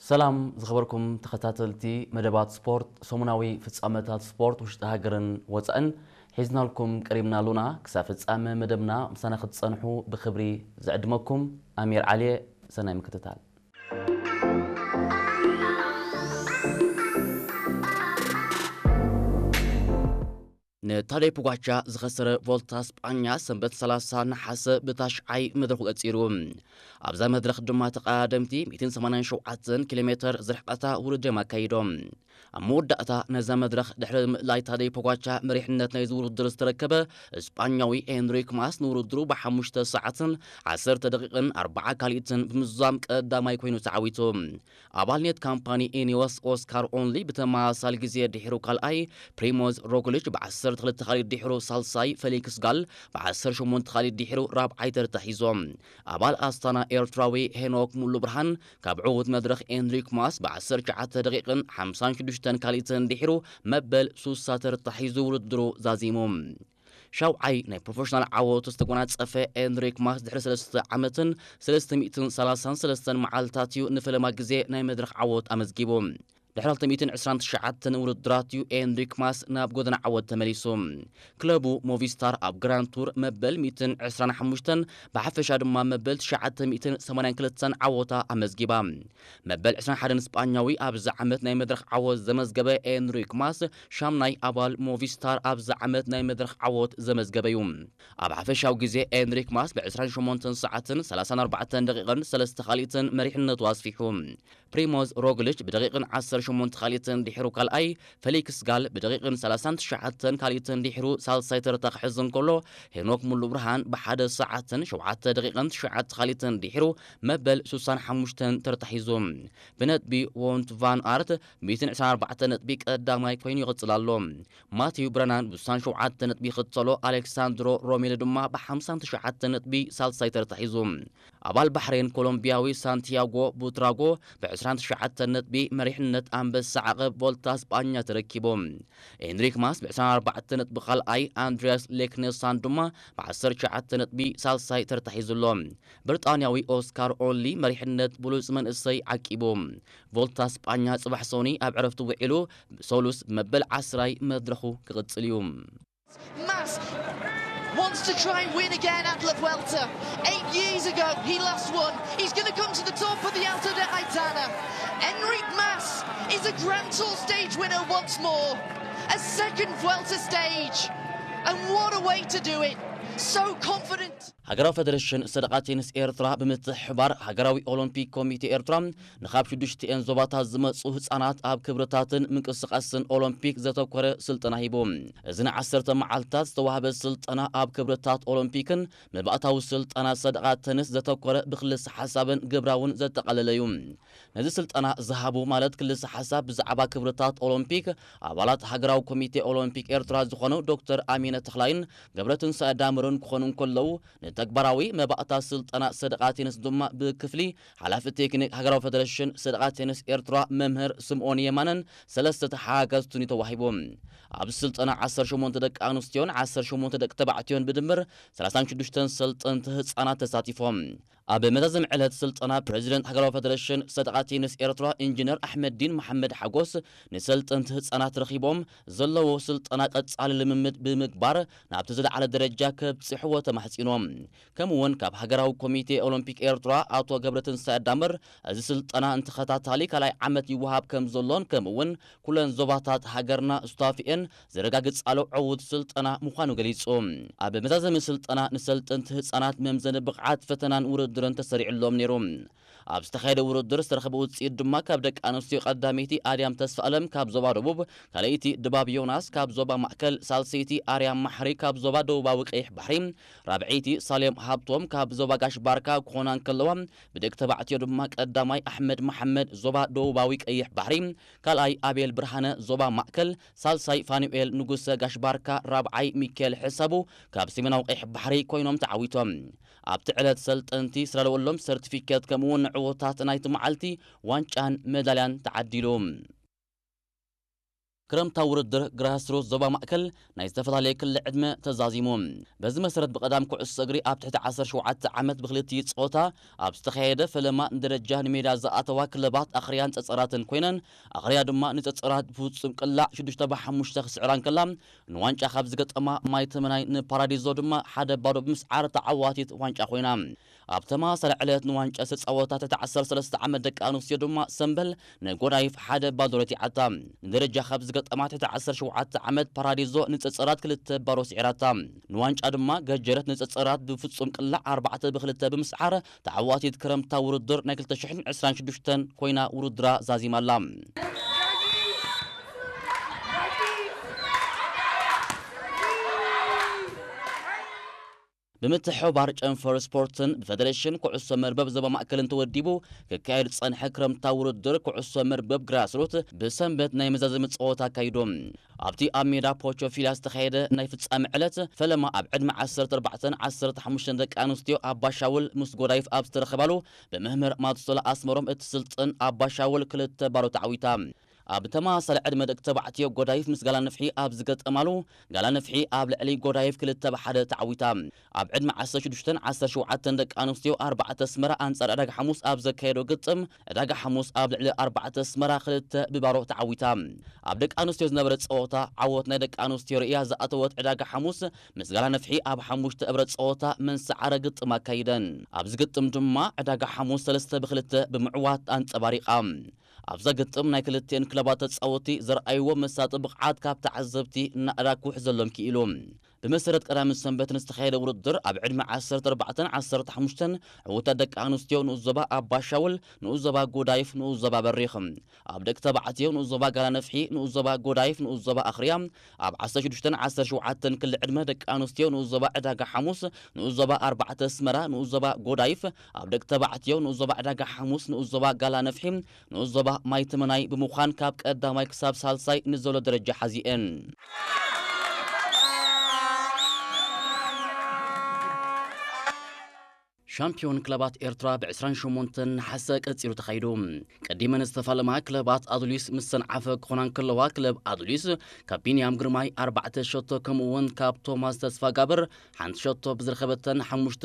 ሰላም ዝኸበርኩም ተኸታተልቲ መደባት ስፖርት፣ ሰሙናዊ ፍጻመታት ስፖርት ውሽጢ ሃገርን ወጻእን ሒዝናልኩም ቀሪብና ኣሉና። ክሳብ ፍጻመ መደብና ምሳና ክትጸንሑ ብኽብሪ ዝዕድመኩም ኣሚር ዓሊየ። ሰናይ ምክትታል። ንታደይ ፖጋቻ ዝኸሰረ ቮልታ ስጳኛ ሰንበት ሰላሳ ነሓሰ ብታሽዓይ መድረኹ ቀጺሩ። ኣብዛ መድረኽ ድማ ተቐዳደምቲ ሚእትን ሰማንያን ሸውዓተን ኪሎ ሜተር ዝርሕቐታ ውድድር እዮም ኣካይዶም። ኣብ መወዳእታ ነዛ መድረኽ ድሕሪ ምእላይ ታደይ ፖጋቻ መሪሕነት ናይዚ ውድድር ዝተረከበ ስጳኛዊ ኤንሪክ ማስ ንውድድሩ ብሓሙሽተ ሰዓትን ዓሰርተ ደቂቕን ኣርባዓ ካልኢትን ብምዝዛም ቀዳማይ ኮይኑ ተዓዊቱ። ኣባል ኔት ካምፓኒ ኢኒዮስ ኦስካር ኦንሊ ብተመሳሳሊ ግዜ ድሒሩ ካልኣይ፣ ፕሪሞዝ ሮግሊች ብ ዓሰርተ ክልተ ካልኢት ድሒሩ ሳልሳይ፣ ፌሊክስ ጋል ብ ዓሰርተ ሸሞንተ ካልኢት ድሒሩ ራብዓይ ተርታ ሒዞም። ኣባል ኣስታና ኤርትራዊ ሄኖክ ሙሉ ብርሃን ካብ ዕዉት መድረኽ ኤንሪክ ማስ ብ ዓሰርተ ትሽዓተ ደቂቕን ሓምሳን ሽዱሽተን ካልኢትን ድሒሩ መበል ሱሳ ተርታ ሒዙ ውድድሩ ዛዚሙ። ሻውዓይ ናይ ፕሮፌሽናል ዓወቱ ዝተጎናጸፈ ኤንሪክ ማስ ድሕሪ ሰለስተ ዓመትን ሰለስተ ሚእትን ሰላሳን ሰለስተን መዓልታት እዩ ንፈለማ ግዜ ናይ መድረኽ ዓወት ኣመዝጊቡ። ድሕሪ ክልተ ሚእትን ዕስራን ትሽዓተን ውድድራት እዩ ኤንሪክ ማስ ናብ ጎደና ዓወት ተመሊሱ። ክለቡ ሞቪስታር ኣብ ግራንድ ቱር መበል ሚእትን ዕስራን ሓሙሽተን ብሓፈሻ ድማ መበል ትሽዓተ ሚእትን ሰማንያን ክልተን ዓወታ ኣመዝጊባ። መበል ዕስራን ሓደን ስጳኛዊ ኣብዚ ዓመት ናይ መድረኽ ዓወት ዘመዝገበ ኤንሪክ ማስ ሻምናይ ኣባል ሞቪስታር ኣብዚ ዓመት ናይ መድረኽ ዓወት ዘመዝገበ እዩ። ኣብ ሓፈሻዊ ግዜ ኤንሪክ ማስ ብ ዕስራን ሸሞንተን ሰዓትን ሰላሳን ኣርባዕተን ደቂቕን ሰለስተ ካልኢትን መሪሕነቱ ኣስፊሑ። ፕሪሞዝ ሮግሊች ብደቂቕን ዓሰርተ ሸሞንተ ካልኢትን ድሒሩ ካልኣይ፣ ፌሊክስ ጋል ብደቂቕን ሰላሳን ትሽዓተን ካልኢትን ድሒሩ ሳልሳይ ተርታ ክሕዝ እንከሎ፣ ሄኖክ ሙሉ ብርሃን ብሓደ ሰዓትን ሸውዓተ ደቂቕን ትሽዓተ ካልኢትን ድሒሩ መበል ሱሳን ሓሙሽተን ተርታ ሒዙ። ብነጥቢ ዎንት ቫን ኣርት ሚእትን ዕስራን ኣርባዕተን ነጥቢ ቀዳማይ ኮይኑ ይቕጽል ኣሎ። ማቲው ብረናን ብሱሳን ሸውዓተ ነጥቢ ይኽተሎ፣ ኣሌክሳንድሮ ሮሜሎ ድማ ብሓምሳን ትሽዓተን ነጥቢ ሳልሳይ ተርታ ሒዙ። ኣባል ባሕሬን ኮሎምቢያዊ ሳንቲያጎ ቡትራጎ ብ ዕስራን ትሽዓተን ነጥቢ መሪሕነት ኣንበሳ ዓቐብ ቮልታ ስጳኛ ተረኪቡ። ኤንሪክ ማስ ብ ዕስራን ኣርባዕተን ነጥቢ ካልኣይ፣ ኣንድሪያስ ሌክነሳን ድማ ብ ዓሰርተ ትሽዓተ ነጥቢ ሳልሳይ ተርታ ሒዙ ኣሎ። ብሪጣንያዊ ኦስካር ኦንሊ መሪሕነት ብሉጽ መንእሰይ ዓቂቡ። ቮልታ ስጳኛ ጽባሕ ሶኒ ኣብ ዕረፍቲ ውዒሉ፣ ሰሉስ መበል ዓስራይ መድረኹ ክቕጽል እዩ። Mas wants to try and win again at La Vuelta. Eight years ago, he last won. He's going to come to the top of the Alto de Aitana. Enric Mas is a Grand Tour stage winner once more. A second Vuelta stage. And what a way to do it. So confident. ሃገራዊ ፈደረሽን ሰደቓ ቴኒስ ኤርትራ ብምትሕብባር ሃገራዊ ኦሎምፒክ ኮሚቴ ኤርትራ ንኻብ ሽዱሽቲኤን ዞባታት ዝመጹ ህጻናት ኣብ ክብርታትን ምንቅስቓስን ኦሎምፒክ ዘተኮረ ስልጠና ሂቡ። እዚ ንዓሰርተ መዓልታት ዝተዋህበ ስልጠና ኣብ ክብርታት ኦሎምፒክን መባእታዊ ስልጠና ሰደቓ ተንስ ዘተኮረ ብክልሰ ሓሳብን ግብራውን ዘጠቓለለ እዩ። ነዚ ስልጠና ዝሃቡ ማለት ክልሰ ሓሳብ ብዛዕባ ክብርታት ኦሎምፒክ ኣባላት ሃገራዊ ኮሚቴ ኦሎምፒክ ኤርትራ ዝኾኑ ዶክተር ኣሚነ ተኽላይን ገብረትንሳኤ ዳምርን ክኾኑ እንከለዉ፣ ንተግባራዊ መባእታ ስልጠና ሰደቓ ቴንስ ድማ ብክፍሊ ሓላፊ ቴክኒክ ሃገራዊ ፈደረሽን ሰደቓ ቴንስ ኤርትራ መምህር ስምኦን የማነን ሰለስተ ተሓጋገዝቱን እዩ ተዋሂቡ። ኣብዚ ስልጠና ዓሰርተ ሸሞንተ ደቂ ኣንስትዮን ዓሰርተ ሸሞንተ ደቂ ተባዕትዮን ብድምር ሰላሳን ሽዱሽተን ሰልጠንቲ ህጻናት ተሳቲፎም። ኣብ መዛዘሚ ዕለት ስልጠና ፕሬዚደንት ሃገራዊ ፈደረሽን ሰደቓ ቴንስ ኤርትራ ኢንጂነር ኣሕመዲን መሓመድ ሓጎስ ንሰልጠንቲ ህጻናት ረኺቦም ዘለዎ ስልጠና ቀጻሊ ልምምድ ብምግባር ናብቲ ዝለዓለ ደረጃ ከብጽሕዎ ተማሕጺኖም። ከምኡ እውን ካብ ሃገራዊ ኮሚቴ ኦሎምፒክ ኤርትራ ኣቶ ገብረትንሳኤ ዳምር እዚ ስልጠና ንተኸታታሊ ካልኣይ ዓመት ይወሃብ ከም ዘሎን ከምኡ እውን ኩለን ዞባታት ሃገርና ስታፊኤን ዘረጋግጻሉ ዕዉት ስልጠና ምዃኑ ገሊጹ። ኣብ መዛዘሚ ስልጠና ንሰልጠንቲ ህጻናት መምዘኒ ብቕዓት ፈተናን ውድድርን ተሰሪዕሎም ነይሩ። ኣብ ዝተኻየደ ውድድር ዝተረኸበ ውፅኢት ድማ ካብ ደቂ ኣንስትዮ ቀዳመይቲ ኣድያም ተስፋኣለም ካብ ዞባ ደቡብ፣ ካልኣይቲ ድባብ ዮናስ ካብ ዞባ ማእከል፣ ሳልሰይቲ ኣርያም ማሕሪ ካብ ዞባ ደቡባዊ ቀይሕ ባሕሪ፣ ራብዐይቲ ሳሌም ሃብቶም ካብ ዞባ ጋሽ ባርካ ክኾና እንከለዋ፣ ብደቂ ተባዕትዮ ድማ ቀዳማይ ኣሕመድ መሓመድ ዞባ ደቡባዊ ቀይሕ ባሕሪ፣ ካልኣይ ኣቤል ብርሃነ ዞባ ማእከል፣ ሳልሳይ ፋኑኤል ንጉሰ ጋሽ ባርካ፣ ራብዓይ ሚካኤል ሕሳቡ ካብ ሰሜናዊ ቀይሕ ባሕሪ ኮይኖም ተዓዊቶም። ኣብቲ ዕለት ሰልጠንቲ ዝተዳለወሎም ሰርቲፊኬት ከምኡውን ንዕወታት ናይቲ መዓልቲ ዋንጫን መዳልያን ተዓዲሉ። ክረምታዊ ውድድር ግራስሩት ዞባ ማእከል ናይ ዝተፈላለየ ክሊ ዕድመ ተዛዚሙ። በዚ መሰረት ብቐዳም ኩዕሶ እግሪ ኣብ ትሕቲ ዓሰርተ ሸውዓተ ዓመት ብክልቲኡ ጾታ ኣብ ዝተኻየደ ፈለማ ንደረጃ ንሜዳ ዝኣተዋ ክለባት ኣኽርያን ጸጸራትን ኮይነን፣ ኣኽርያ ድማ ንጸጸራት ብፍጹም ቅላዕ ሽዱሽተ ብ ሓሙሽተ ክስዕራ እንከላ፣ ንዋንጫ ካብ ዝገጠማ ማይ ተመናይ ንፓራዲዞ ድማ ሓደ ባዶ ብምስዓር ተዓዋቲት ዋንጫ ኮይና። ኣብ ተመሳሳሊ ዕለት ንዋንጫ ዝተጻወታ ትሕቲ ዓሰርተ ሰለስተ ዓመት ደቂ ኣንስትዮ ድማ ሰምበል ንጎዳይፍ ሓደ ባዶ ረቲዓታ። ንደረጃ ካብ ዝገጠማ ትሕቲ ዓሰርተ ሸውዓተ ዓመት ፓራዲዞ ንጸጸራት ክልተ ባዶ ስዒራታ። ንዋንጫ ድማ ገጀረት ንጸጸራት ብፍጹም ቅላዕ ኣርባዕተ ብ ክልተ ብምስዓር ተዓዋቲት ክረምታ ውድድር ናይ ክልተ ሽሕን ዕስራን ሽዱሽተን ኮይና ውድድራ ዛዚማ ኣላ። ብምትሕብባር ጨንፈር ስፖርትን ብፌደሬሽን ኩዕሶ መርበብ ዞባ ማእከልን ተወዲቡ ክካየድ ዝጸንሐ ክረምታዊ ውድድር ኩዕሶ መርበብ ግራስሩት ብሰንበት ናይ መዛዘሚ ጸወታ ኣካይዱ። ኣብቲ ኣብ ሜዳ ፖቾ ፊላ ዝተኻየደ ናይ ፍጻመ ዕለት ፈለማ ኣብ ዕድመ ዓሰርተ ኣርባዕተን ዓሰርተ ሓሙሽተን ደቂ ኣንስትዮ ኣባሻውል ምስ ጎዳይፍ ኣብ ዝተረኸባሉ ብመምህር ማቱሶላ ኣስመሮም እትስልጥን ኣባሻውል ክልተ ባዶ ተዓዊታ። ኣብ ተመሳሳሊ ዕድመ ደቂ ተባዕትዮ ጎዳይፍ ምስ ጋላ ነፍሒ ኣብ ዝገጠማሉ፣ ጋላ ነፍሒ ኣብ ልዕሊ ጎዳይፍ ክልተ ብ ሓደ ተዓዊታ። ኣብ ዕድመ ዓሰርተ ሽዱሽተን ዓሰርተ ሸውዓተን ደቂ ኣንስትዮ ኣርባዕተ ኣስመራ ኣንጻር ዕዳጋ ሓሙስ ኣብ ዘካየዶ ግጥም፣ ዕዳጋ ሓሙስ ኣብ ልዕሊ ኣርባዕተ ኣስመራ ክልተ ብ ባዶ ተዓዊታ። ኣብ ደቂ ኣንስትዮ ዝነበረ ጸወታ ዓወት ናይ ደቂ ኣንስትዮ ርእያ ዝኣተወት ዕዳጋ ሓሙስ ምስ ጋላ ነፍሒ ኣብ ሓሙሽተ እብረ ጸወታ መንሰዓረ ግጥም ኣካይደን። ኣብዚ ግጥም ድማ ዕዳጋ ሓሙስ ሰለስተ ብ ክልተ ብምዕዋት ኣንጸባሪቓ። ኣብዛ ግጥም ናይ ክልቲኤን ክለባት ተጻወቲ ዘርኣይዎ መሳጢ ብቕዓት ካብ ተዓዘብቲ እናእዳ ክውሕዘሎም ክኢሉ። ብመሰረት ቀዳምን ሰንበትን ዝተኻየደ ውድድር ኣብ ዕድመ ዓሰርተ ኣርባዕተን ዓሰርተ ሓሙሽተን ዕዉታት ደቂ ኣንስትዮ ንኡስ ዞባ ኣባሻውል፣ ንኡስ ዞባ ጎዳይፍ፣ ንኡስ ዞባ በሪኽ። ኣብ ደቂ ተባዕትዮ ንኡስ ዞባ ጋላ ነፍሒ፣ ንኡስ ዞባ ጎዳይፍ፣ ንኡስ ዞባ ኣኽርያ፣ ኣብ ዓሰርተ ሽዱሽተን ዓሰርተ ሸውዓተን ክሊ ዕድመ ደቂ ኣንስትዮ ንኡስ ዞባ ዕዳጋ ሓሙስ፣ ንኡስ ዞባ ኣርባዕተ ኣስመራ፣ ንኡስ ዞባ ጎዳይፍ፣ ኣብ ደቂ ተባዕትዮ ንኡስ ዞባ ዕዳጋ ሓሙስ፣ ንኡስ ዞባ ጋላ ነፍሒ፣ ንኡስ ዞባ ማይ ተመናይ ብምዃን ካብ ቀዳማይ ክሳብ ሳልሳይ ንዘሎ ደረጃ ሓዚኤን። ሻምፒዮን ክለባት ኤርትራ ብ ዕስራን ሸሞንተን ነሓሰ ቀጺሉ ተኻይዱ። ቀዲመን ዝተፋለማ ክለባት ኣዱሊስ ምስ ሰንዓፈ ክኾና እንከለዋ፣ ክለብ ኣዱሊስ ካብ ቢንያም ግርማይ ኣርባዕተ ሸቶ ከምኡ እውን ካብ ቶማስ ተስፋጋብር ሓንቲ ሸቶ ብዝረኸበተን ሓሙሽተ